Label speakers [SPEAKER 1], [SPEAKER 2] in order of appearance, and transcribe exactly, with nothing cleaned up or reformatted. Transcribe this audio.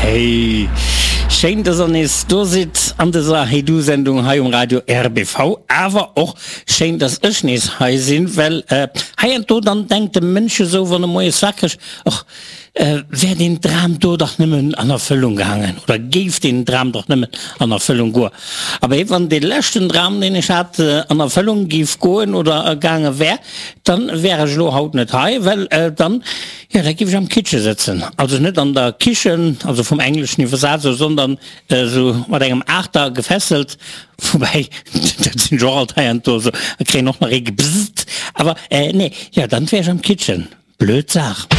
[SPEAKER 1] Hey, schéin, dass der nees do sidd an dëser Hey Du Sendung hei um Radio R B V. Awer och schéin, dass ech nees hei sinn, well heiansdo dann denkt de Mënsch esou, wann e moies wakreg, och wär deen Dram do dach nëmmen an Erfëllung gaangen oder géif deen Dram dach nëmmen an Erfëllung goen. Abee, wann dee leschten Dram, deen ech hat, an Erfëllung géif goen oder gaange wär, dann wär ech elo haut net hei, well dann, jo, da géif ech am Kitche sëtzen. Also net an der Kichen, also vum Engleschen iwwersat esou, sondern esou mat engem Aachter gefesselt, woubäi, dat sinn ech och alt heiansdo esou, a kréien och nach ee gebzzt. Awer nee, jo, dann wär ech am Kitchen. Blöd Saach.